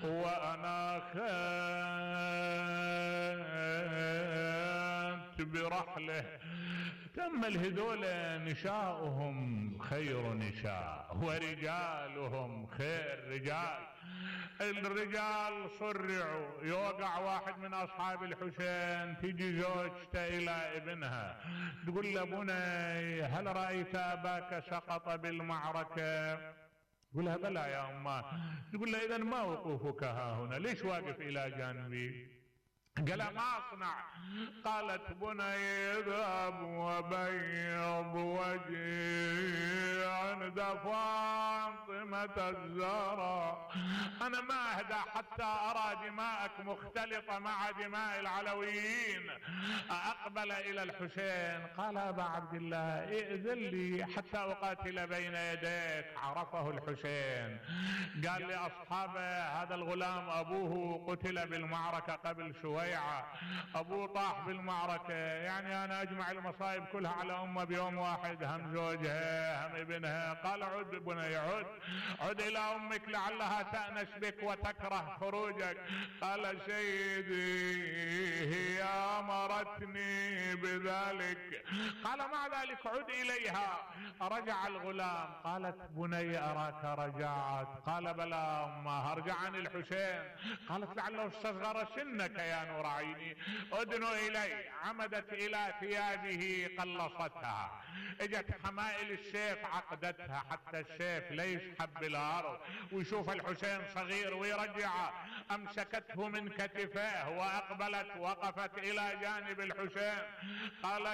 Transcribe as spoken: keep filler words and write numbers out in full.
وأنا خنت برحله. تأمل هذول نشاؤهم خير نشاء ورجالهم خير رجال. الرجال صرعوا، يوقع واحد من أصحاب الحسين، تيجي زوجته إلى ابنها تقول له بني هل رأيت أباك سقط بالمعركة؟ يقول لها بلى يا أمه. تقول له إذن ما وقوفك ها هنا، ليش واقف إلى جانبي؟ قال ما أصنع. قالت بني اذهب وبيض وجهي عند فاطمة الزهراء، أنا ما أهدى حتى أرى دماءك مختلطة مع دماء العلويين أقبل إلى الحسين. قال أبا عبد الله ائذن لي حتى أقاتل بين يديك. عرفه الحسين، قال لأصحابه هذا الغلام أبوه قتل بالمعركة قبل شوية، أبوه طاح بالمعركة، يعني أنا أجمع المصائب كلها على أمه بيوم واحد، هم زوجها هم ابنها. قال عد بني عد عد إلى أمك لعلها تأنس بك وتكره خروجك. قال سيدي هي أمرتني بذلك. قال مع ذلك عد إليها. رجع الغلام. قالت بني أراك رجعت. قال بلى أمه أرجع عن الحسين. قالت لعله استصغر سنك يا نور عيني، ادنوا الي. عمدت الى ثيابه قلصتها، اجت حمائل السيف عقدتها حتى السيف لا يسحب بالارض ويشوف الحسين صغير ويرجعه. امسكته من كتفه واقبلت وقفت الى جانب الحسين. قالت